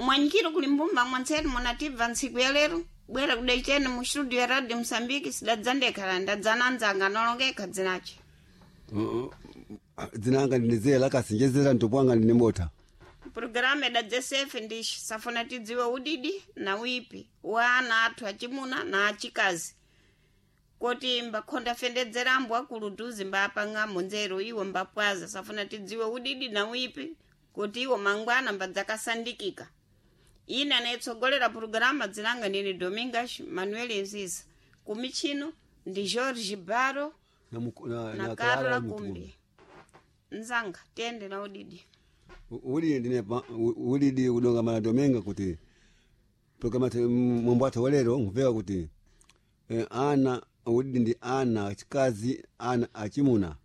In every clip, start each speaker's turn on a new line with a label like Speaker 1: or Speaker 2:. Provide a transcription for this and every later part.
Speaker 1: Mwanyikiro kuli mbumba mwanseni munatibva ntsiku ya lero bwera kudaiteni mu studio ya Radio Msambiki sidadzandekhala ndadzana nzanga nolongeka dzinache.
Speaker 2: Dzinanga ndinezera kasinjezera ntopwanga ndine mota.
Speaker 1: Programu idadzesefe ndishi safuna tidziwe udidi na wipi wa ana athu achimuna na achikazi koti mbakhonda fendedzera ambu akulu duzi mbapang'amo nzeru iwo mbapwaza safuna tidziwe udidi na wipi kuti iwo mangwana mbadzakasandikika. Ine anayitsogolera purogirama dzinanga ndine Domingas Manuel Nziza kumichino ndi George Baro
Speaker 2: Na, na,
Speaker 1: na
Speaker 2: na
Speaker 1: Carla
Speaker 2: Clara
Speaker 1: Kumbi. Nzanga tiyende na udidi.
Speaker 2: Udidi ndine udidi kudonga mana Dominga kuti programa mwambo athu walero nkupeka kuti ana udidi ndi ana achikazi ana achimuna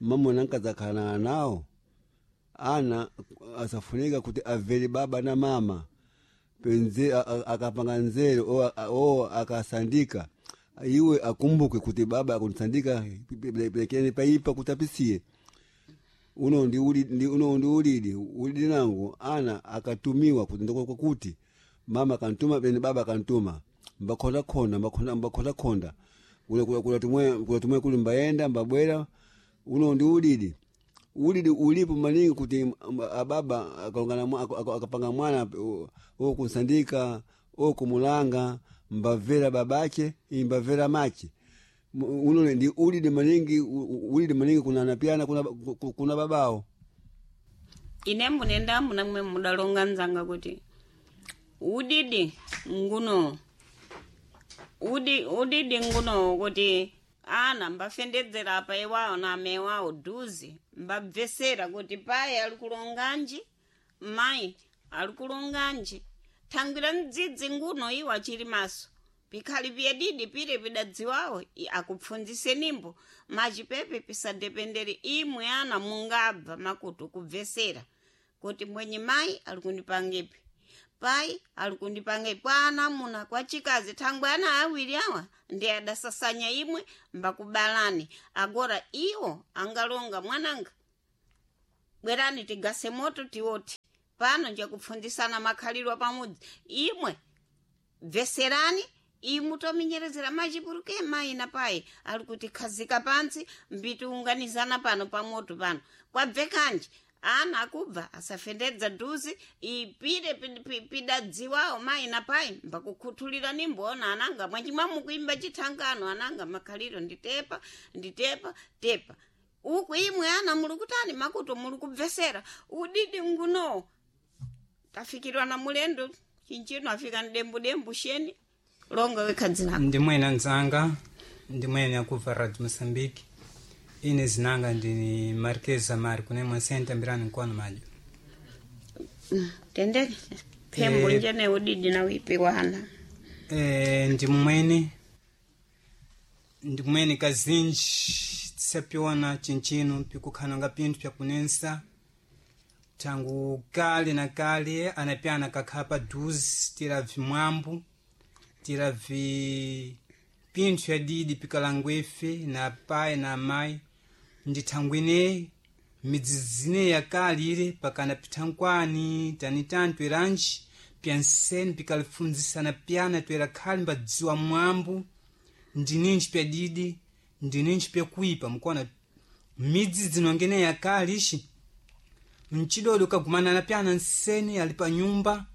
Speaker 2: mamuna nkadzakhala nawo ana asafunika kuti avere baba na mama penze akapanga nzeru o akasandika iwe akumbuke kuti baba akunisandika pelekeni paipa kuti apisiye. Uno ndi ulidi, uno ndi ulidi ulidi nangu ana akatumiwa kuti ndokwakuti mama kantuma pene baba kantuma mbakhonda khonda mbakhonda mbakhonda khonda kula kula kula tumwe kula tumwe kuli mbayenda mbabwera. Uno ndi ulidi ulidi ulipo maningi kuti ababa akalongana akapanga mwana okunsandika okumulanga mbavera babache imbavera mache. Uno ndi ulidi maningi ulidi maningi kuna napiana kuna, kuna babao.
Speaker 1: Ine munendamu namwe mudalonga nzanga kuti udidi nguno udidi nguno kuti ana mbafendedzera apa iwawo na amewawo duzi mbabvesera kuti payi ali kulonganji mayi ali kulonganji thangwira mdzidzi nguno iwo achili maso pikhali piyedidi pire pidadziwawo akupfundzise nimbo machipepe pisadependere imwe ana mungabva makutu kubvesera kuti mwenye mayi ali kundipangepi pai ali kundipangepi kwa ana muna kwa chikazi thangwe ana awiri awa ndi adasasanya imwe mbakubalani agora iwo angalonga mwananga bwerani tigase moto tiwoti pano njakupfundzisana makhalidwe pamudzi imwe bveserani imu tominyerezera machipuruke mayi na payi ali kuti khazika pantsi mbitiunganizana pano pamoto pano kwabvekanji ana akubva asafendedza duzi ipire pidadziwawo mayi na payi mbakukhuthulira nimboona ananga mwachimwa mukuimba chithangano ananga makhaliro nditepa nditepa tepa uku imwe ana muli kutani makuto muli kubvesera udidi nguno tafikirwa na mulendo chinchino afika ndembudembu sheni longa wekha dzinako.
Speaker 3: Ndimwene nzanga ndimwene akubva Radio Mosambiki ine zinanga ndini Marquez Amari kune mwasenta mbirani nkono majo.
Speaker 1: Tende phembo njene udidi na wipi wana.
Speaker 3: Ndimwene ndimwene kazinji tisapiona chinchino pikukhananga pinthu pyakunensa tangu kale na kale anapyana kakhala paduzi tira vimwambu tira vi pinthu fyadidi pikalangwefe na pai na amayi ndi thangwine midzidzi ineyi yakale ile pakana pithankwani tanitani tweranji pyanseni pikalifundzisana pyana twera khali mbadziwa mwambu ndininji pyadidi ndininji pyakuipa mukuona midzi dzinongene yakale ixi mchidodo kagumanana pyana nseni ali pa nyumba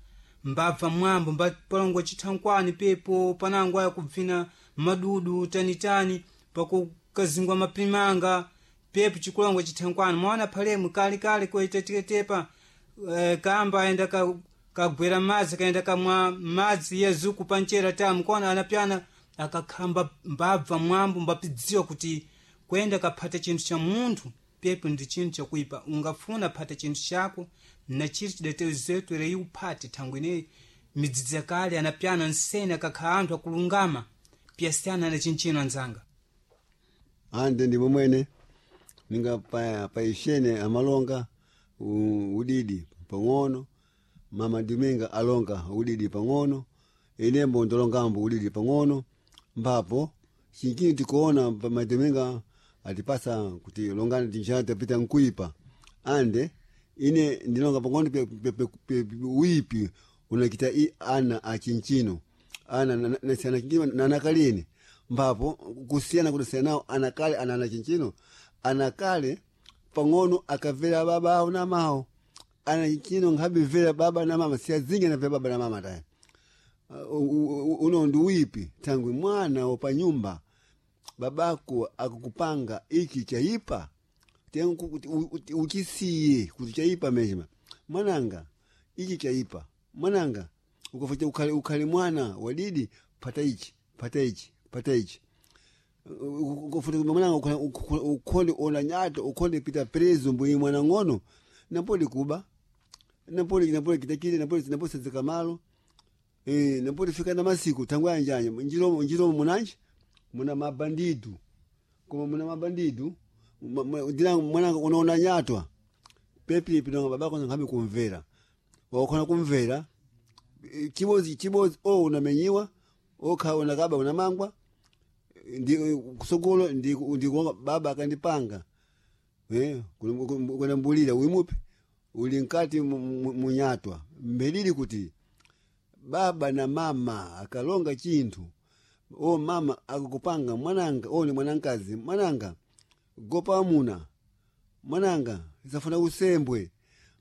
Speaker 3: mbabva mwambo mbapalongo chithankwani pepo panango aya kubvina madudu tanitani pakukazingwa mapimanga pepo chikulongo chithankwani mwaona phalemu kalekale koitatetepa kamba aenda kagwera madzi kaenda kamwa madzi yezuku panchera tamu kona anapyana akakhamba mbabva mwambo mbapidziwa kuti kuyenda kaphata chinthu cha munthu pepo ndi chinthu chakuipa ungafuna phata chinthu chako na chiri chidatezetu ere iuphate thangwe ineyi midzidzi yakale anapyana nsene akakhala anthu akulungama piyasiyana na chinchino anzanga.
Speaker 2: Ande ndi momwene ninga paishene amalonga udidi pang'ono mama Dominga alonga udidi pang'ono inembo ndolongambo udidi pang'ono mbapo chinchino tikuona pa Dominga atipasa kuti longani tinjana tapita nkuipa ande ine ndilonga pang'ono uipi Unakita i ana achinchino ana nasiyana chinchino nanakalini mbapo kusiyana kudasiyana nawo anakale ana ana chinchino anakale pang'ono akavera baba awo na mawo ana chinchino nkhabivera baba na mama siyazingi anavera baba na mama tayi. Uno ndi uipi thangwi mwana wopanyumba babako akukupanga iki chaipa uchisiye kuti chaipa meshima mwananga ichi chaipa mwananga ukafacha ukhale, ukhale mwana wadidi pata ichi pata ichi pata ichi ukafuta mwananga ukhonde ona nyato ukhonde pita prezo mbwi mwana ng'ono napoli kuba napoli napoli kitakile napoli napoli sedzeka malo napoli fika na masiku tangu anjanja njiromo njiromo munanji muna mabandidu koma muna mabandidu ndina mwananga unaona nyatwa pepi pinonga babako nkhabe kumvera wakhona kumvera chibozi chibozi o unamenyiwa okha unakaba unamangwa ndi kusogolo ndi ndi baba akandipanga kuna mbulira uimupe uli nkati munyatwa mbelili kuti baba na mama akalonga chinthu o mama akukupanga mwananga o ni mwanankazi mwananga gopa amuna mwananga isafuna usembwe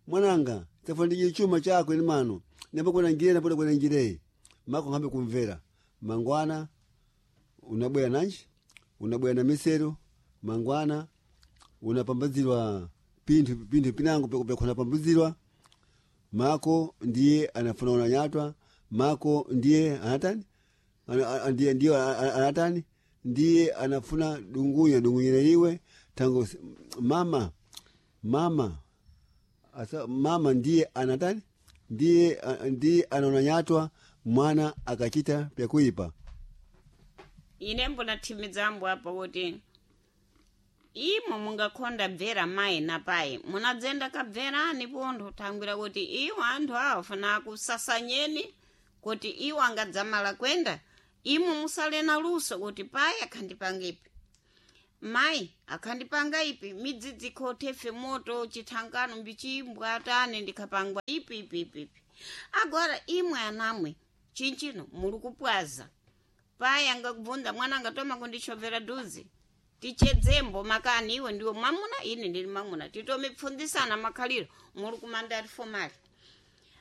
Speaker 2: mwananga isafuna ndije chuma chako ini mano nambo kwena njire napoda kwena njireyi mako nkhambe kumvera mangwana unabwera nanji unabwera na misero mangwana unapambazirwa pinthu pinthu pinango pekhona pambazirwa mako ndiye anafuna unanyatwa mako ndiye anatani ndiye ndiye anatani ndiye anafuna dungunya dungunyireliwe tango mama mama asa mama ndiye anatani ndiye ndiye anaonanyatwa mwana akachita pyakuipa.
Speaker 1: Ine mbona thimidzambo apo kuti imo mungakhonda bvera mayi na payi munadzenda kabverani pontho thangwira kuti iwo anthu awo funa akusasanyeni kuti iwo angadzamala kwenda imo musale na luso kuti payi akhandipanga ipi mayi akhandipanga ipi midzidzi ikhothefe moto chithangano mbichimbwa atani ndikhapangwa ipi ipi ipi ipi agora imwe anamwe chinchino muli kupwaza payi angakubvunza mwana angatoma kundichovera duzi tichedzembo makani iwe ndiwe mwamuna ine ndili mwamuna titomipfundzisana makhaliro muli kumandari fomali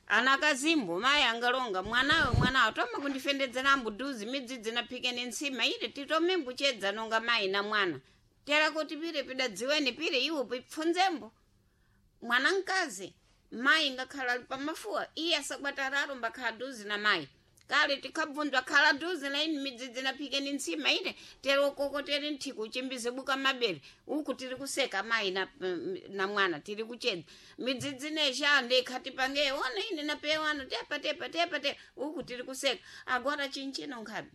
Speaker 1: anakazimbo mayi angalonga mwanawe mwanawe toma kundifendedzerambo duzi midzidzi naphikeni ntsima ine titomimbuchedza nonga mayi na mwana tera kuti pire pidadziweni pire iwo pipfunzembo mwana mkazi mayi ngakhala ali pamafuwa iye asakwatararo mbakhala duzi na mayi kale tikhabvunzwa khala duzi na ine midzidzi naphikeni ntsima ine tere ukoko tere nthiko uchimbize buka mabere uku tiri kuseka mayi na, na mwana tiri kuchedza midzidzi nesha ndikhatipange ona ine napewano tepa tepa tepa tepa uku tiri kuseka agora chinchino nkhabe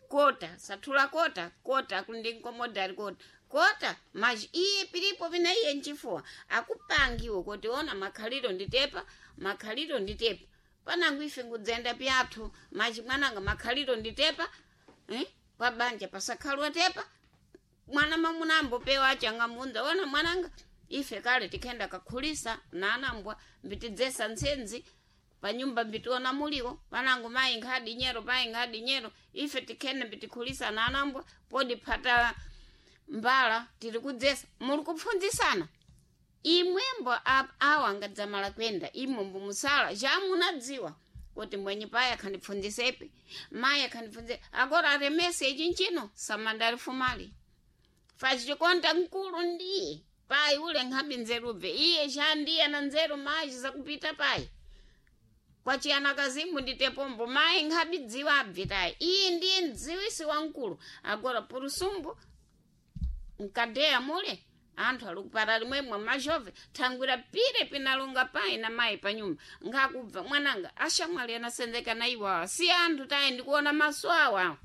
Speaker 1: kota sathula kota kota kundinkomodari kota kota maji iye pilipo vina iye nchifuwa akupangiwe kuti ona makhaliro nditepa makhaliro nditepa panangu ife ngudzenda pyathu maji mwananga makhaliro nditepa eh? pabanja pasakhalwa tepa mwana mamuna ambopewa achangamunda ona mwananga ife kale tikhenda kakhulisa nanambwa mbitidzesa ntsenzi panyumba mbitiona muliwo panangu mayi nkhadi nyero mayi nkhadi nyero ife tikhenda mbitikhulisa nanambwa podi phata mbala tiri kudzesa muli kupfundzisana imwembo awa angadzamala kwenda imwembo musala jamunadziwa kuti mwenye payi akhandipfundzisepi mayi akhandipfundzise agora aremese ichi nchino samandari fumali fachikonda mkulu ndiye payi ule nkhabi nzerubve iye chandiye na nzeru mayi zakupita payi kwachiyana kazimu nditepombo mayi nkhabi dziwa abvitayi iye ndiye mdziwisi wamkulu agora purusumbu mkadeya mule anthu ali kupata limwemwe majove thangwira pire pinalonga payi na mayi panyumba ngakubva mwananga ashamwali anasenzeka na iwo awa si anthu tayi ndikuona maso awa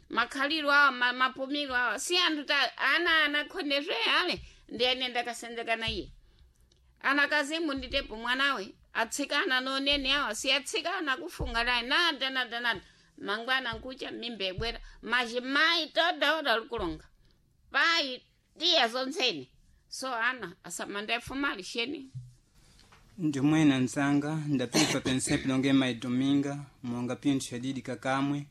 Speaker 1: makhaliro awa mapumiro awa si anthu tayi ana anakhonezwe ale ndi ene ndakasenzeka na iye anakazimu nditepo mwanawe atsikana nonene awa si atsikana kufunga naye nada nada nada mangwana nkucha mimba ibwera majimayi todaoda likulonga payi tiya zontsene so ana asamanda efumali sheni.
Speaker 3: Ndimwena nzanga ndapipa pensepe longe maidominga monga pinthu yadidi kakamwe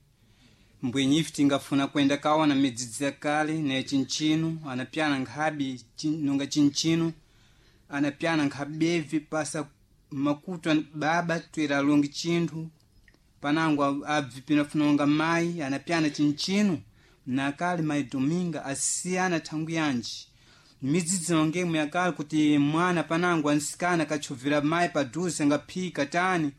Speaker 3: mbwenyi ife tingafuna kwenda kaona midzidzi ya kale ne chinchinu anapyana nkhabi nonga chinchinu anapyana nkhabevi pasa makutu baba twera alongi chinthu panango abvi pinafunonga mayi anapyana chinchinu nakale maidominga asiyana thangu yanji midzidzi nongemwe yakale kuti mwana panango ansikana akachovera mayi paduze angaphika tani.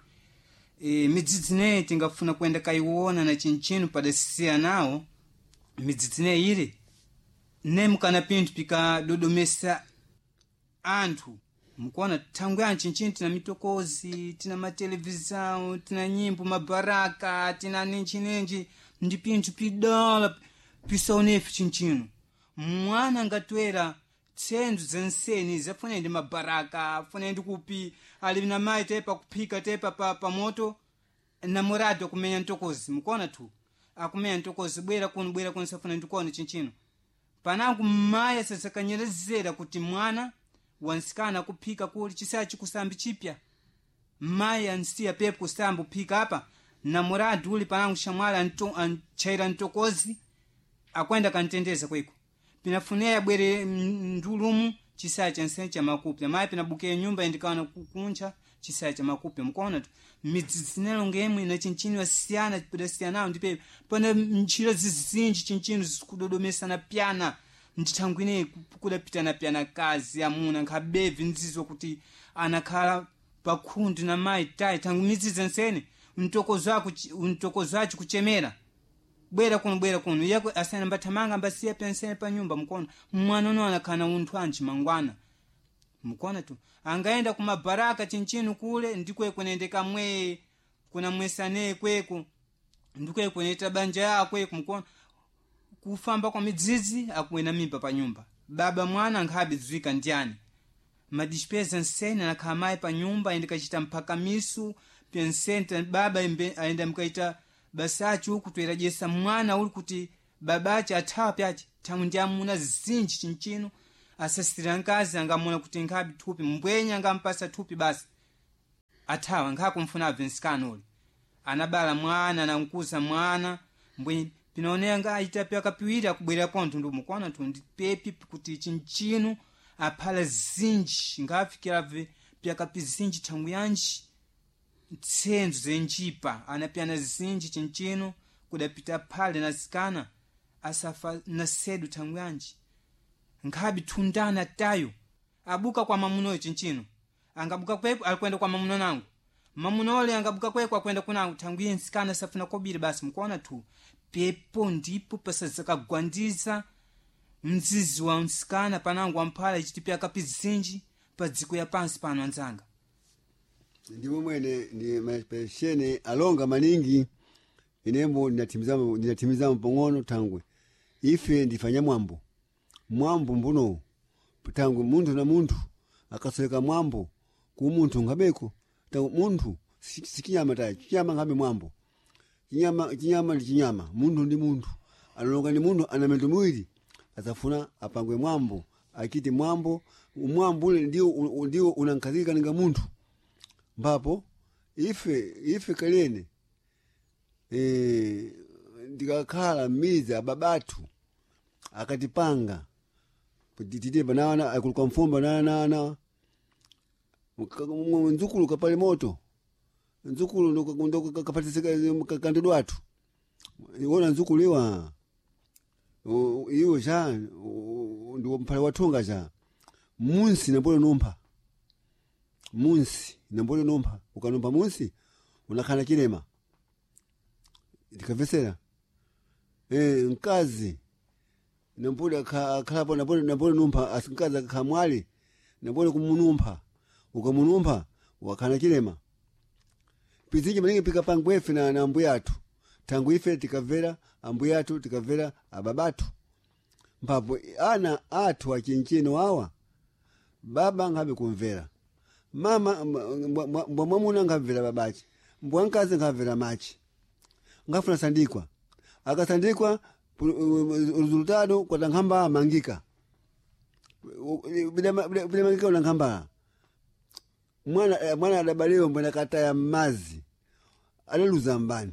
Speaker 3: E, midzidzi neyi tingafuna kwenda kayiwona na chinchinu padasiya nawo midzidzi neyi ili nemukana pinthu pikadodomesa anthu mukuona thangu ya nchinchinu tina mitokozi, tina matelevisão, tina nyimbo mabaraka, tina ninji ndi pinthu pidala pisaonefe chinchinu. Mwana angatwera tsenzo zenseni zafuna ndi mabaraka, afuna ndi kupi ali na mayi tepa kuphika tepa pa moto namorado akumenya ntokozi mukuona tu akumenya ntokozi bwera kuno bwera kuno safuna ndikuona chinchino. Panangu mayi asasakanyerezera kuti mwana wansikana akuphika kuli chisaya chikusambi chipya mayi ansiya pepo kusamba uphika apa namorado uli panangu shamwali antchaira ntokozi akwenda kantendeza kweko pinafuneya bwere ndulumu chisaya chansene cha makupya mayi pinabuke nyumba indikaona kuncha chisaya cha makupya mukuona tu midzidzi nelongemwe na chinchinu asiyana pidasiyanawo ndipe pana ntchito zizinji chinchinu zikudodomesana pyana ndithangu ineyi kudapitana pyana kazi amuna nkhabevi ndzizo kuti anakhala pakhundu na mayi tayi thangu midzidzi nsene mtokozo acho kuchemera bwera kuno bwera kuno yako asana mbathamanga mbasiya pensene pa nyumba mukuona mwana uno anakhala unthu anji mangwana mukuona tu angaenda kumabaraka chinchinu kule ndikweko nende kamwe kuna mwesane kweko ndikweko neta banja yakweko mukuona kufamba kwa midzidzi akuwena mimba pa nyumba baba mwana nkhabe dzwika ndiyani madispesa nsene anakhala mayi pa nyumba ayenda kachita mphakamisu pensene baba ayenda mkaita basachi uku toyerajesa mwana uli kuti babache athawa pyache thangu ndi amuna zinji chinchino asasira nkazi angamuna kuti nkhabi thupi mbwenya angampasa thupi basi athawa nkhakumfuna abve nsikana uli anabala mwana anamkuza mwana mbwenye pinaonera nga aita pyakapiwiri akubwera pontho ndumukuona tu ndi pepi kuti chinchino aphala zinji ngafikira abve pyakapi zinji thangu yanji ntsenzo zenjipa anapyana zinji chinchino kudapita phale nasikana asafa nasedu thangu yanji nkhabi thundana tayo abuka kwa mamunoyo chinchino angabuka kweko alikwenda kwa mamuno nangu mamuno ole angabuka kweko akwenda kunangu thangu iye nsikana safuna kobiri basi mukuona tu pepo ndipo pasazakagwandiza mzizi wa nsikana panangu wamphala ichiti pyakapi zinji pa dziko ya pansi pano anzanga.
Speaker 2: Ndimo mwene ndi mapeshene alonga maningi inembo ndinatimizamo pang'ono thangwe ife ndifanya mwambo mwambo mbuno thangwe munthu na munthu akasoleka mwambo ku munthu nkhabeko thangwe munthu sichinyama tayi chinyama nkhabe mwambo chinyama chinyama ndi chinyama munthu ndi munthu analonga ndi munthu ana mendo miwiri azafuna apangwe mwambo achite mwambo mwambo ule ndiwo unankhazikika ninga munthu mbapo ife kalene ndikakhala m'midzi ababatu akatipanga tite banana akuluka mfumba nanana nzukulu kapale moto nzukulu ndo athu iwona nzukulu iwa iwo cha ndiwo mphale wathunga cha munsi nambole numpha munsi nambole numpha ukanumpha munsi unakhala chilema ndikavesera mkazi nambole akhalapo nambole numpha mkazi akakhala mwali nambole kumunumpha ukamunumpha wakhala chilema pizinji maningi pikapangwa ife na ambuya athu thangu ife tikamvera ambuya athu tikamvera ababatu mpapo ana athu achinchino awa baba nkhabe kumvera mama mbwa mwamuna nkhamvera babache mbwa mkazi nkhamvera machi nkhafuna sandikwa akasandikwa resultado kwata nkhamba amangika bidamangika una nkhamba Mwana mwana adabalewa mbwena kataya mmazi adaluza mbani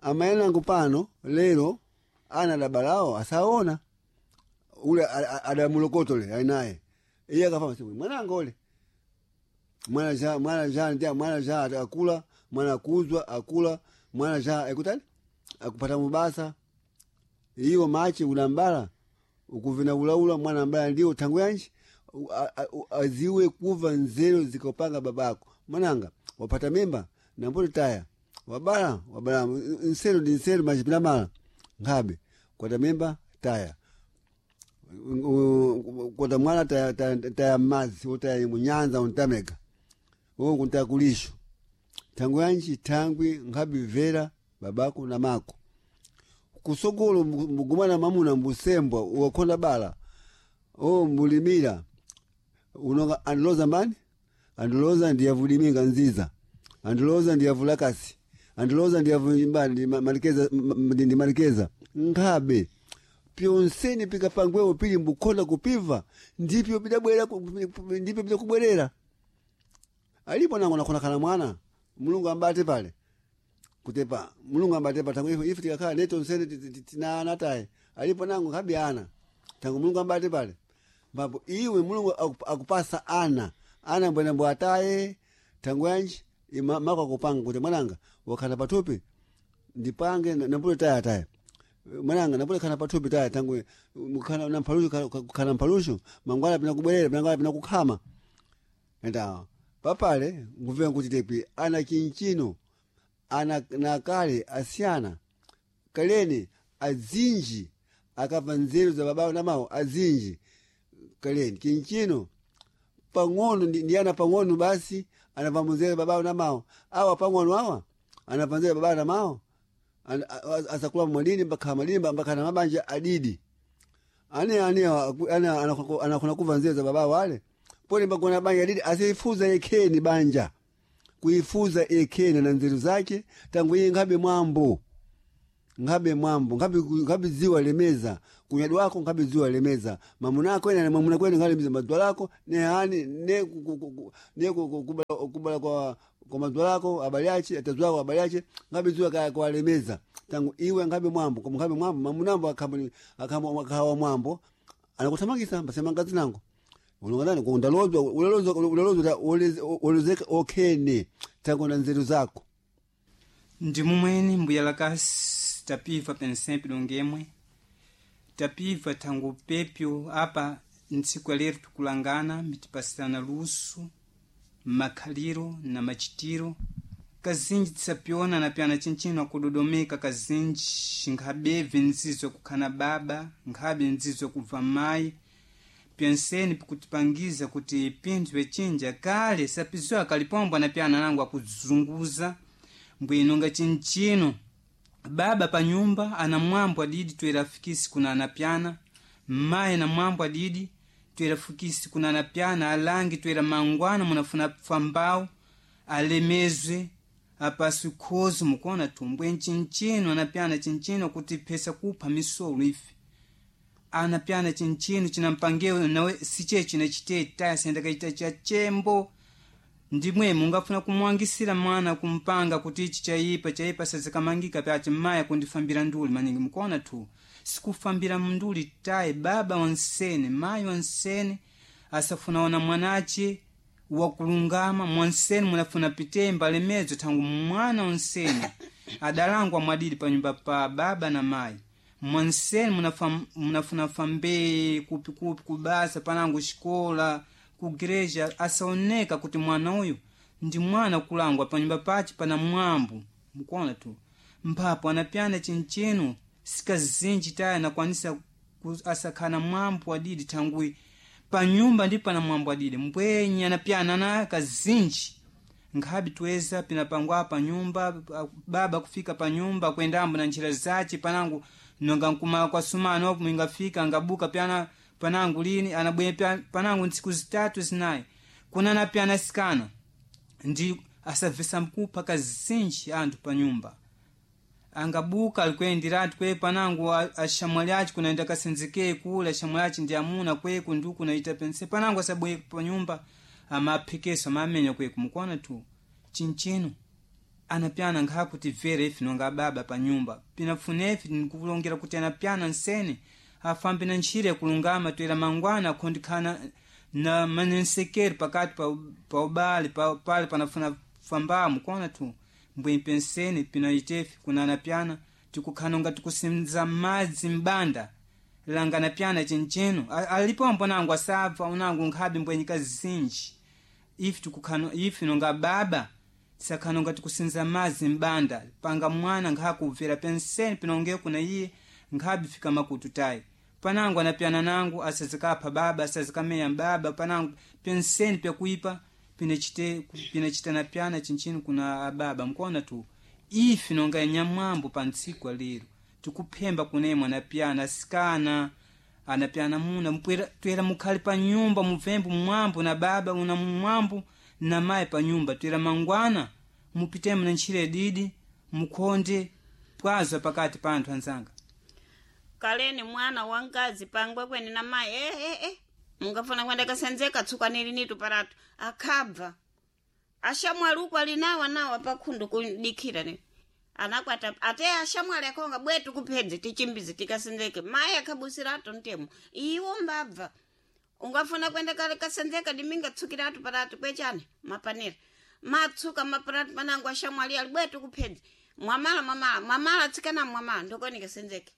Speaker 2: amayanangu pano lero ana adabalawo asaona ule adamulokotole ainaye iye akafama simu mwananga ule mwana ja mwana ja ndia mwana ja akula mwana akuzwa akula mwana ja ekutani akupata mubasa iwo machi ulambala ukuvina ulaula mwana mbala ndio tangu yanji aziwe kuva nzero zikopanga babako mwananga wapata mimba namboto taya wabala wabala nsero ndi nsero machipina mala nkhabe kwata mimba taya kwata mwana taya, taya, taya mazi utaya munyanza untameka uwo kuntaya kulisho tangu yanji tangwi nkhabe vera babako na mako kusogolo mbugumana mamuna mbusembwa uwakhonda bala o mbulimira unonga andiloza mbani andiloza ndiyavulimika nziza andiloza ndiyavulakasi andiloza ndiyavumbani malikeza ndi malikeza nkhabe pyonseni pikapangwewo pili mbukhonda kupiva ndipyo bidabwera ndipyo bidakubwerera alipo nango nakhonakhala mwana mulungu ambate pale kutepa mulungu ambate pa tangu ife tikakhala neto nsene tina ana taye alipo nango nkhabe ana tangu mulungu ambate pale mbapo iwe mulungu akupasa ana ana mbwena mbw ataye tangu yanji mako akupanga kuti mwananga wakhala pathupi ndipange nambulo taya taya mwananga nambulo khala pathupi taya tangu mukhala na mphalushu khala mphalushu mangwala pina kubwerera mangwala pina kukhama enda papale ngumvera kuti tepi ana chinchino ana nakale asiyana kaleni azinji akamva nzeru za babawo na mawo azinji kaleni chinchino pang'ono ndi ana pang'ono basi anamva munzeru babawo na mawo awa pang'ono awa anamva nzeru babawo na mawo asakula mwadini mbakhala madini mbakhala na mabanja adidi ane ane ane anakhona kuva nzeru za babawo ale pole mbakona banja adidi asifuza yekheni banja kuifuza yekheni na nzeru zake tangu iye nkhabe mwambo nkhabe mwambo nkhabe nkhabe dziwa lemeza kunyadi wako nkhabe dziwa lemeza mamuna ako ena mamuna kwene nkhalemeza madzwa lako ne hani ne ne kubala kwa kwa madzwa lako abali ache atazwa ako abali ache nkhabe dziwa kaya kwa lemeza tangu iwe nkhabe mwambo koma nkhabe mwambo mamunambo akhamba akhamba akhawa mwambo anakuthamangisa mbasema ngazi nango ulonganani kundalozwa ulalozwa ulalozwa olezeka okhene tangu na nzeru zako
Speaker 3: ndi mumweni mbuya lakasi tapiva pensempe dongemwe tapiva thangu pepyo apa ntsiku ya lero tikulangana mitipasirana luso makhaliro na machitiro kazinji tisapyona na pyana chinchino akudodomeka kazinji nkhabebve nzizo kukhana baba nkhabe nzizo kubva mayi pyenseni pikutipangiza kuti pinthu pechinja kale sapiziwa kalipombwa na pyana nangu akuzunguza mbwino nga chinchino baba pa nyumba ana mwambo adidi twerafikisi kuna anapyana mayi na mwambo adidi twerafikisi kuna anapyana alangi twera mangwana munafuna pfambawu alemezwe apaswi khozi mukuona thumbwe nchinchino anapyana chinchino kuti phesa kupha misolo ife anapyana chinchino cinampangewo nawe siche chinachiteta sendakachita cha chembo ndimwe mungafuna kumwangisira mwana kumpanga kuti ichi chaipa chaipa sazikamangika pyaci maya kundifambira nduli maningi mukuona tu sikufambira mnduli tayi baba wansene mayi wansene asafuna ona mwanace wakulungama mwansene munafuna pitemba lemedzo thangu mwana wansene adalangwa mwadidi panyumba pa baba na mayi mwansene munafuna fambee kupikupi kubasa panangu xikola kugreja asaoneka kuti mwana uyu ndi mwana kulangwa panyumba pace pana mwambo mukuona tu mphapo anapyana chinchino sikazinji taya anakwanisa asakhana mwambo adidi thangwi panyumba ndi pana mwambo adidi mbwenye anapyana na kazinji nkhabi tweza pinapangwa panyumba baba kufika panyumba kwendambo na njira zace panangu nonga nkumala kwa sumano opo ingafika angabuka pyana panangu lini anabwe panangu ntsiku zitatu zinayi kuna napyana sikana ndi asavesa mkupha kazinji anthu panyumba angabuka alikuyendiratu kwe panangu ashamwali aci kunaenda kasenzekee kule ashamwali aci ndi amuna kweku ndi kunaita pense panangu asabwe panyumba amaphikiso amamenya kweku mukuona tu chinchino anapyana nkhakuti vere ife nonga baba pa nyumba pinafuna ife nkulongera kuti anapyana nsene afambe na ntchire yakulungama toera mangwana akhondikhana na manensekeri pakati pa ubale pale panafuna fambamo kuona tu mbwempe nsene pinaitefe kuna anapyana tikukhana nga tikusinza madzi mbanda langa anapyana chinchino alipo mbonango asabva unango nkhabe mbwenyika zinji ife tikukhana ife nonga baba sakhana nga tikusinza madzi mbanda panga mwana nkhakubvera penseni pinonge kuna iye nkhabe fika makutu tayi panango anapyana nangu asazikapha baba asazikameya baba panango penseni pyakuipa pinachita napyana chinchino kuna ababa mkuona tu ife nonga nyamwambo pa ntsiku alero tikuphemba kunemwe anapyana asikana anapyana muna mpwera twera mukhale pa nyumba muvembo mwambo na baba una mwambo na mayi pa nyumba twera mangwana mupitemo na ntchire didi mukhonde pwazwa pakati pa anthu anzanga
Speaker 1: kaleni mwana wankazi pangwe kweni na mayi eh. Mungafuna kwenda kasenzeka tsukanili nitu paratu akhabva ashamwali uku alinawa nawa pakhundu kudikhira ne anakwata ate ashamwali akhonga bwetu kuphedze tichimbize tikasenzeke mayi akhabusirato ntemo iwo mbabva ungafuna kwenda kale kasenzeka diminga tsukiratu paratu kwechani mapanera matsuka maparatu panango ashamwali ali bwetu kuphedze mwamala mwamala mwamala tsikana mwamala ndokoni kasenzeke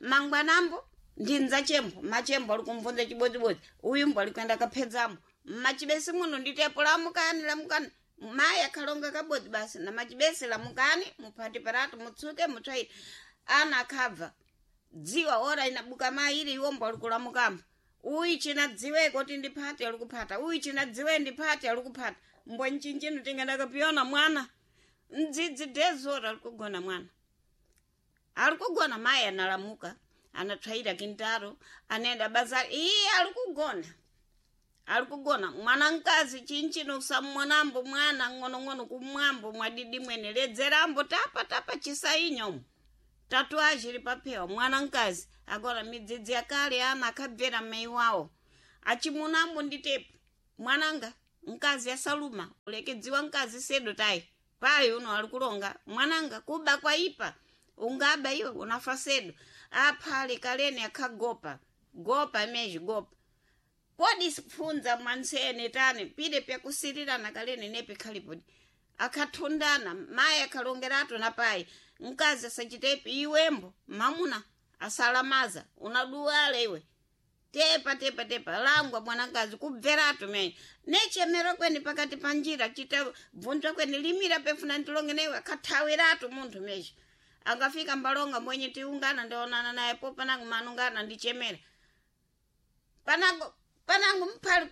Speaker 1: mangwanambo ndinza chembo machembo ali kumvunza chibodzibodzi uyu mbo ali kuenda kaphedzamo mmachibesi muno nditepo lamukani lamukani mayi akhalonga kabodzi basi na machibesi lamukani muphati paratu mutsuke mutswaire ana akhabva dziwa ora inabuka mayi ili iwombo ali kulamukamo uyu china dziweko kuti ndiphate ali kuphata uyu china dziwe ndiphate ali kuphata mbo nchinchino tingandakapiyona mwana mdzidzi dezora ali kugona mwana ali kugona mayi analamuka anatsvaira kintaro anaenda bazari iye ali kugona ali kugona mwana mkazi chinchino usammonambo mwana ng'onong'ono kumwambo mwadidi mwene ledzerambo tapa tapa chisainyomo tatuaji ili paphewa mwana mkazi agora midzidzi yakale ana akabvera mai wawo achimunambo nditepo mwananga mkazi asaluma ulekedziwa mkazi sedo tayi payi uno ali kulonga mwananga kuba kwaipa ungaba iwe unafa sedo aphale kaleni akhagopa gopa mezhi gopa kodi pfunza mwansene tani pide pyakusirirana kaleni nepi khalipodi akhathundana mayi akhalongeratu na payi mkazi asachitepi iwembo mamuna asalamaza unaduwala iwe tepa tepa tepa langwa mwanakazi kubveratu mene nechemero kweni pakati pa njira chita bvunzwa kweni limira pefuna ndilonge newe akhathawiratu munthu mezhi angafika mbalonga mwenye tiungana ndionana naye po panango manungana ndichemera panango panango mphali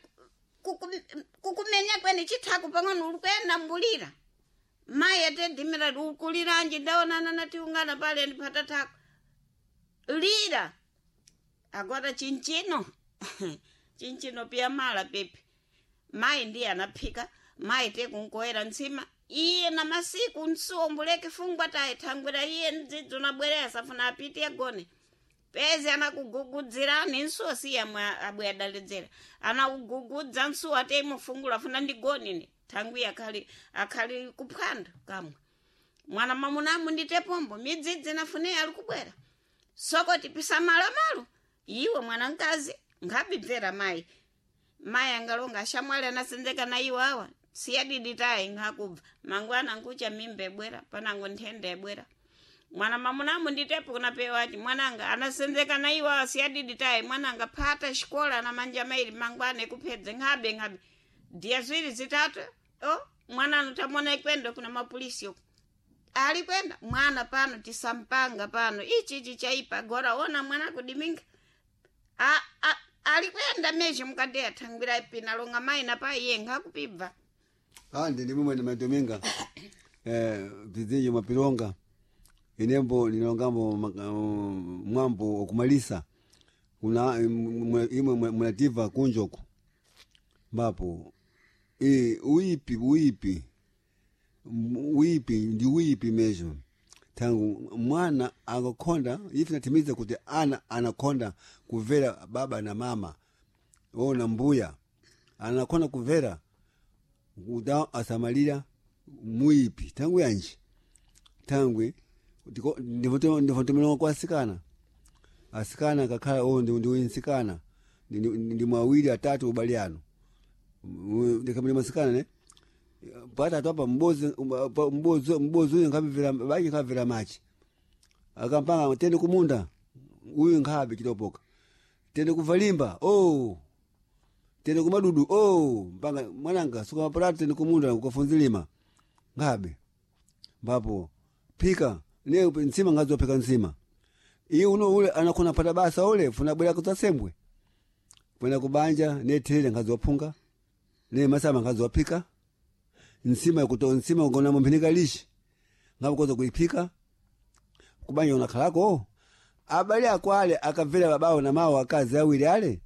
Speaker 1: kukumenya kweni chithaku pang'ono ulikwena mbulira mayi atedhimira ukuliranji ndaonana natiungana pale ndiphata thako lira agora chinchino chinchino piya mala pepi mayi ndiye anaphika mayi tekunkoera ntsima iye na masiku nsuwombuleke fungwa tayi thangwira iye mdzidzi unabweresa funa apite agone pezi anakugugudzirani nsuwo siye amwe abwe adaledzera anakugugudza nsuwo ate imufungula funa ndigonine thangwi akhali akhali kuphwando kamwe mwana mamunamu nditepombo midzidzi nafune ali kubwera sokoti pisamalamalo iwe mwana mkazi nkhabibvera mayi mayi angalonga ashamwali anasenzeka na iwo awa siyadidi tayi nkhakubva mangwana nkucha mimba ebwera panango nthenda ebwera mwana mamunamu nditepo kunapewaci mwananga anasenzeka na iwo awa siyadidi tayi mwananga phata xikola na manja maili mangwana ekuphedze nkhabe nkhabe diya ziwiri zitatu o mwananu tamona ikwendo kuna mapolisi uku ali kwenda mwana pano tisampanga pano ichi ichi chaipa gora ona mwana kudiminga ali kwenda mezhe mukadeya thangwira pina longa mayi na payi iye nkhakupibva
Speaker 2: andi ndimwe na madominga vizinji mapilonga inembo nilongambo mwambo wakumalisa kuna imwe mulativa kunjoku mbapo uipi uipi uipi ndi uipi mezho tangu mwana akakonda ife natimiza kuti ana anakonda kumvera baba na mama ona mbuya. Anakona kuvera kuda asamalira muipi tangu yanji tangwe ndivotomelonga kwa asikana asikana kakhala o ndi nsikana ndi mwawiri atatu ubali ano ndikamuli masikana ne patatu apa mbozi mbozi uyu nkhabvera bachi nkhabvera machi akampanga tende kumunda uyu nkhabe chitopoka tende kuvalimba oh tende kumadudu oh mpanga mwananga suka mapalatu tende kumunda kukafunzilima nkhabe mbapo phika ne ntsima ngazophika ntsima iye uno ule anakona pata basa ule funa bwera kutsasembwe kwenda kubanja nethere ngazophunga ne masama ngazophika nsima kuto nsima ugona mumphinika lishi ngabukoza kuiphika kubanja unakhalako abali ako ale akabvera babawo na mawo akazi awiri ale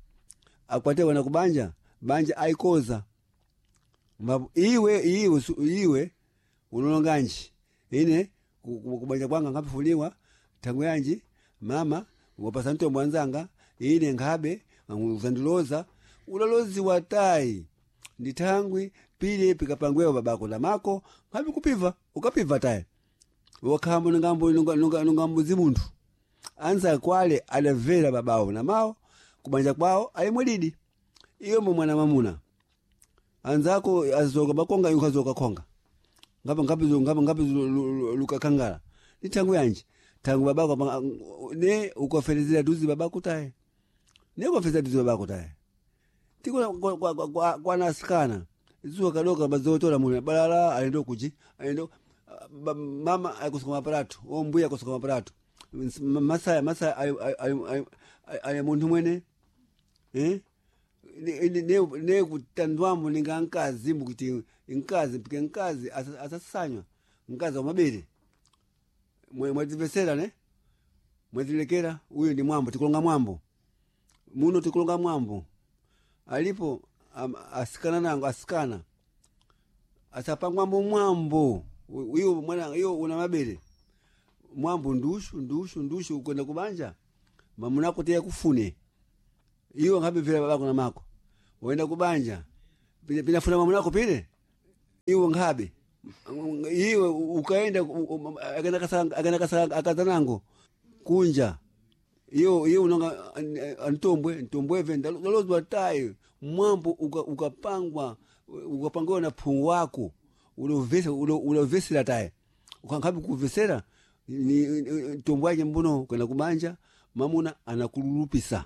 Speaker 2: akwate wana kubanja banja aikoza mbapo iwe iwe iwe unolonganji ine kubanja kwanga ngapifuliwa tangu yanji mama wapasa mtombo wanzanga ine nkhabe uzandiloza ulaloziwa tayi ndi thangwi pili pikapangwewo babako na mako nkhabe kupiva ukapiva tayi wakhambo nungambuzi munthu anza kwale adamvera babawo na mawo kubanja kwawo alimwedidi iyo mbo mwana mamuna anzako azoka bakonga yukazoka konga ngapa ngapi ngapa ngapi lukakangala ni tangu yanji tangu babako ne ukaferezera duzi babako taye ne ukaferezera duzi babako taye tiko kwa kwa nasikana zuwa kadoka bazotola mune balala alendo kuchi alendo mama akusukuma maparatu o mbuya akusukuma maparatu masaya masaya ali munthu mwene eh ne kutandwambo ninga nkazi mbukuti nkazi mpike nkazi asasanywa nkazi wa mabere mwativesera ne mwatilekera uyu ndi mwambo tikulonga mwambo muno tikulonga mwambo alipo asikana nango asikana asapangwambo mwambo iyo mwana iyo una mabere mwambo ndushu ndushu ndushu ukwenda kubanja mamunako tiya kufune iwo nkhabivira babako na mako wenda kubanja pinafuna mamunako pile iwo nkhabe iwe ukaenda akenda kasaka akazanango kunja iyo iyo unonga antombwe ntombweve ndalozwa tayi mwambo ukapangwa ukapangiwa na phungu wako ulovesera tayi ukankhabe kuvesera ntombwe ake mbuno kwenda kubanja mamuna anakululupisa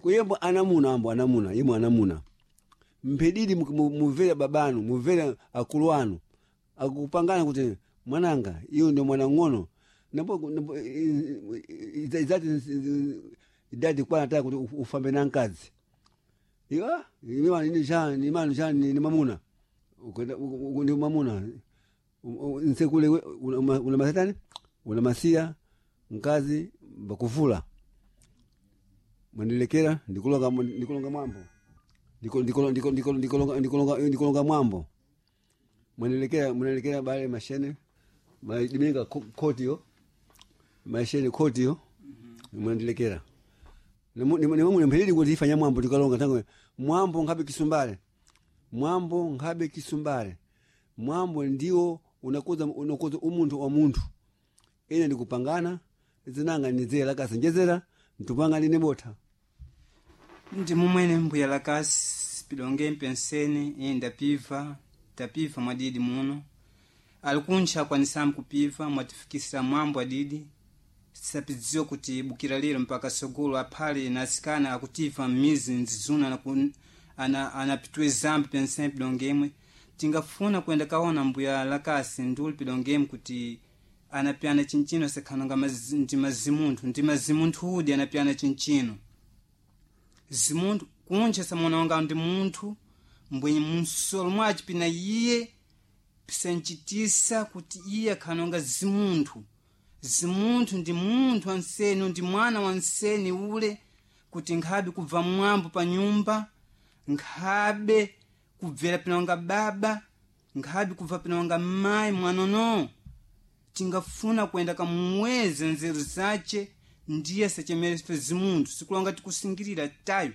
Speaker 2: kuyembo anamuna ambo anamuna imwe anamuna mphedidi muvere babanu muvere akulu anu akupangana kuti mwananga iyo ndio mwana ng'ono nambo izati idadi kwana taya kuti ufambe na nkazi iwa imanu cha ni mamuna ndi mamuna nsekule una masatani una masiya nkazi bakuvula mwanilekera ndikulonga ndikulonga mwambo ndikulonga mwambo mwanilekera mwanilekera bale mashene madiminga koti yo mashene koti yo mwanilekera nimamune mphilidi kuti ifanya mwambo tikalonga tango mwambo nkhabe kisumbale mwambo nkhabe kisumbale mwambo ndiwo unakoza unakoza umunthu wa munthu ine ndikupangana zinanga nizera kasenjezera ntupanga ndine botha
Speaker 3: ndi mumwene mbuya lakasi pidonge mpensene iye ndapiva tapiva mwadidi muno alikuntcha akwanisamu kupiva mwatifikisira mwambo adidi sapidziwa kuti bukira lero mpaka sogolo aphale na asikana akutiva m'mizi nzizuna anapitwe zambi pensene pidongemwe tingafuna kuyenda kaona mbuya lakasi nduli pidongemwe kuti anapyana chinchino sakhananga ndi mazimunthu ndi mazimunthu udi anapyana chinchino zimunthu kunja samuonanga ndi munthu mbwenye mnsolo mwaci pina iye pisanchitisa kuti iye akhanonga zimunthu zimunthu ndi munthu wanseni ndi mwana wanseni ule kuti nkhabe kubva mwambo pa nyumba nkhabe kubvera pinonga baba nkhabe kubva pinonga mayi mwanono tingafuna kuyenda kamuweze nzeru zace ndiye sachemerefe zimunthu sikulonga tikusingirira tayo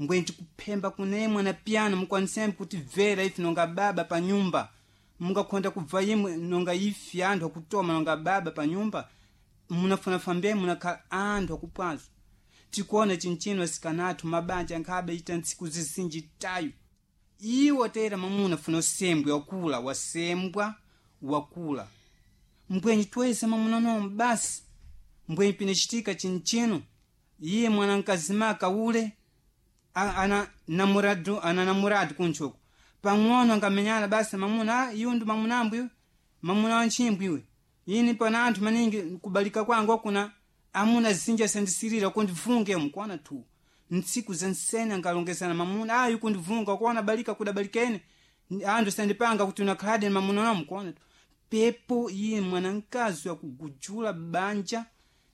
Speaker 3: Mbweni tikuphemba kunemwe na piano mukwanisembe kuti bvera ifi nonga baba pa nyumba mungakhonda kubva imwe nonga ifi anthu akutoma nonga baba pa nyumba munafuna mbe munakhala anthu akupwazo. Tikuona chinchino asikanathu mabanja nkhabe ita ntsiku zizinji tayo iwo tera mamuna funa usembwe wakula wasembwa wakula mbwenyi twese mamuna nomo basi mbwenyi pinachitika chinchino iye mwana mkazimaka ule ana namuradu ana namuradu kunchoko pang'ono angamenyana basi mamuna iyu ndi mamunambu iwe mamuna wanchimbwi iwe ini pana anthu maningi kubalika kwangu akuna amuna zinja sandisirira kundivunge mukwana tu ntsiku zansene angalongezana mamuna ayi kundivunga kuona balika kudabalikene anthu sandipanga kuti unakhaladi mamuna nawo mukwana tu pepo iye mwanamkazi wakugujula banja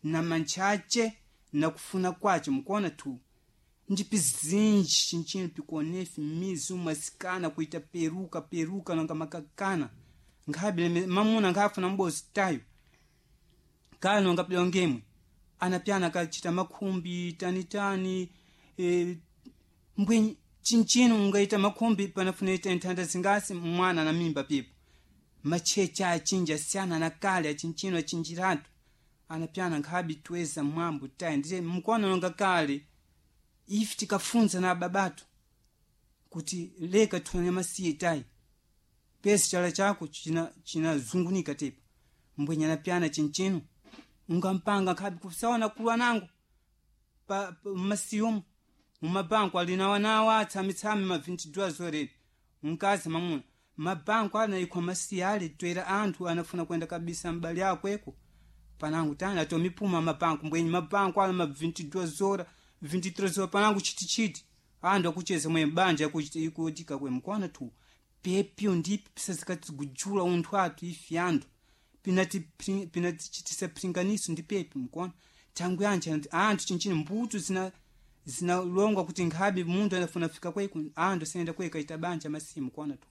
Speaker 3: na mantchache na kufuna kwace mukuona tu ndipi zinji chinchino pikuonefi mizi umasikana kuita peruka peruka nonga makakana nkhabe mamuna nkhafuna mbozi tayo kale nonga pilongemwe anapyana kachita makhumbi tanitani mbwenyi chinchino ungaita makhumbi panafuna ita nthanda zingasi mwana na mimba pipo machecha achinji asiyana na kale achinchino achinjiratu anapyana nkhabi tweza mwambo tayi ndiye mkuona nonga kale ife tikafunza na babatu kuti leka tione masiye tayi pesi chala chako chinazungunika china tepa mbwenye anapyana chinchino ungampanga nkhabi kusaona kulwa nango pa masiyomo mumabanko alinawanawa atsamitsami ma 22 zoreni mkazi mamuna mabanko anaikwa masiya ale twera anthu anafuna kwenda kabisa mbali akweko panangu tani atomipuma mabanko mbwenye mabanko ala ma 22 zora 23 zora panangu chitichiti anthu akucheza mwe banja ikutika kwe mkwana tu pepyo ndipi pisazikatigujula unthu athu ifi anthu pinatichitisa pringaniso ndi pepi mkona tangu yanji anthu chinchini mbuto zina zinalongwa kuti nkhabe munthu anafuna fika kweko anthu asayenda kweka ita banja masimu mkona tu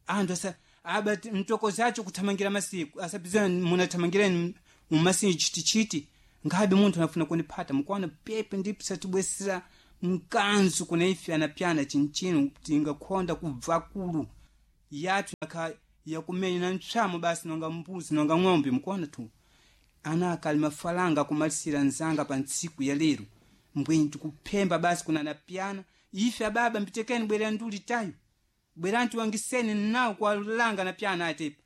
Speaker 3: anthu asa aba mtoko zacho kuthamangira masiku asapizana munathamangirani mumasiku chitichiti nkhabe munthu anafuna kuniphata mkona pepe ndipo satibwesera mkanzu kuna ife anapyana chinchino tingakhonda kubva kulu yathu nakha yakumenya na ntchamo basi nonga mbuzi nonga ng'ombe mkuona tu ana akali mafalanga kumalisira nzanga pa ntsiku ya lero mbwenyi tikuphemba basi kuna anapyana ife ababa mpitekeni bwera nduli tayo bwerani tiwangiseni nawo kuwalanga anapyana atepa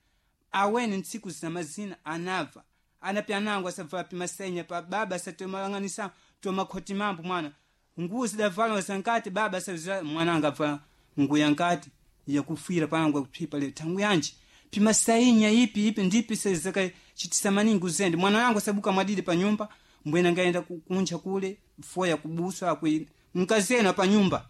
Speaker 3: aweni ntsiku zina mazina anabva anapyana angu asabva pimasenya pa baba asatomalang'anisa tomakhoti mambo mwana nguwo zidavala zankati baba asabza mwana angabva nguya nkati yakufira pangu akuphipa le tangu yanji pimasainya ipi ipi ndipi sezaka chitisa maningi uzende mwana wangu asabuka mwadidi pa nyumba mbwena ngaenda kunja kule foya kubuswa akwi mkazena pa nyumba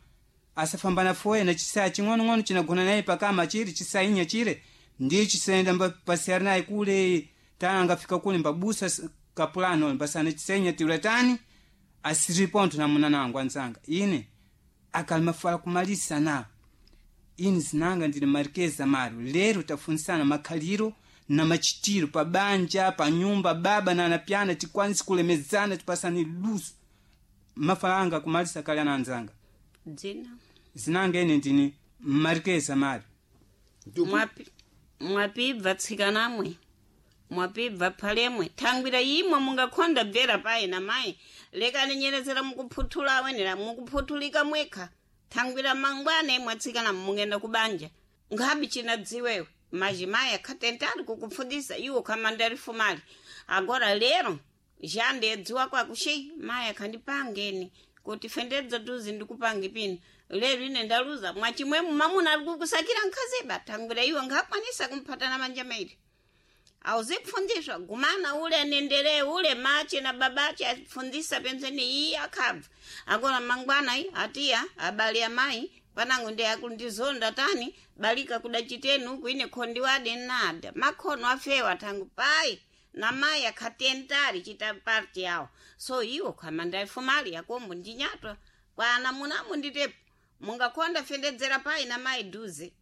Speaker 3: asafambana foya na chisaya ching'onong'ono chinagona naye pakama chiri chisainya chire ndiye chisaenda pasiyari naye kule tana angafika kule mbabusa kapulano mbasana chisainya tiulatani asiripontho na muna nangu anzanga ine akalimafala kumalisa na ini zinanga ndili marikeza maro lero tafunisana makhaliro na machitiro pa banja pa nyumba baba na anapyana tikwanisi kulemezana tipasani luso mafalanga kumalisa kale ana anzanga
Speaker 1: dzina
Speaker 3: zinanga ine ndini marikeza maro
Speaker 1: mwapibva tsikanamwe mwapibva phalemwe thangwira imwe mungakhonda bvera payi na mayi lekani nyerezera mukuphuthula awenera mukuphuthulika mwekha thangwira mangwana imwe atsikana mungenda kubanja nkhabi chinadziwewe majimayi akhatentali kukupfundisa iwo khamandali fumali agora lero jandedziwa kwakuxi mayi akhandipangeni kuti fendedza tuzi ndikupange pino lero ine ndaluza mwachimwemu mamuna ali kukusakira nkhaziba thangwira iwo nkhakwanisa kumphatana manja mairi awuzikufundiswa gumana ule anendelee ule mache na babache afundisa penzeni iyi akhabva akona mangwana iyi atiya abale amayi panango ndi akundizonda tani balika kudachiteni uku ine khondi wade nada makhono afewa thangu payi na mayi akhatentali chita parti yawo so iwo khamanda ifumali yakombo ndinyatwa kwa anamunamu nditepo mungakhonda fendedzera payi na mayi duze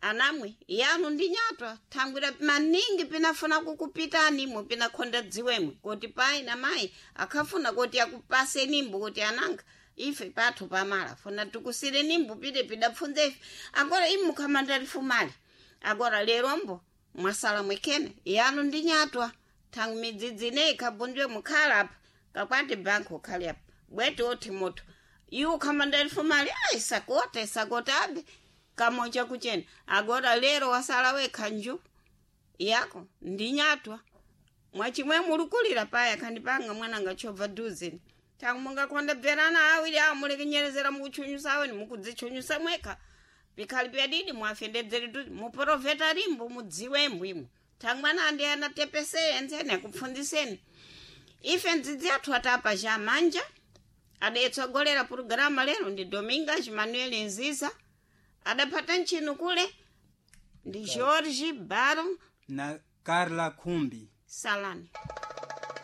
Speaker 1: anamwe yanu ndinyatwa thangwira maningi pinafuna kukupitanimo pinakhonda dziwemwe kuti payi na mayi akhafuna kuti akupasenimbo kuti ananga Ife pathu pamala funa tikusire nimbo pide pidapfunza ife. Agora imukhamandalifumali agora lerombo mwasala mwekene yanu ndi nyatwa thangu midzidzi ineyi ikhabundwe mukhala apa kakwati banki ukhali apa bwete othi moto iwo ukhamandalifumali ayi sakota isakota abe kamocha kuchena. Agora lero wasala wekha nju yako ndi nyatwa mwachimwe mulukulira paya khandipanga mwananga chobva duzini tangu mungakonda bverana awiri awo mulikinyerezera mukuchunyusa aweni mukudzichunyusa mwekha pikhali pyadidi mwafendedzeri duzi muprofeta limbo mudziwembo imwe. Tangu mwana andi anatepeseye ntsene akupfunziseni ife ndzidzi athu atapa cha manja adayetsogolera pulogalamu lero ndi Domingas Manuel Nziza, adaphata ntchino kule ndi George Baro
Speaker 3: na Carla Khumbi.
Speaker 1: Salani.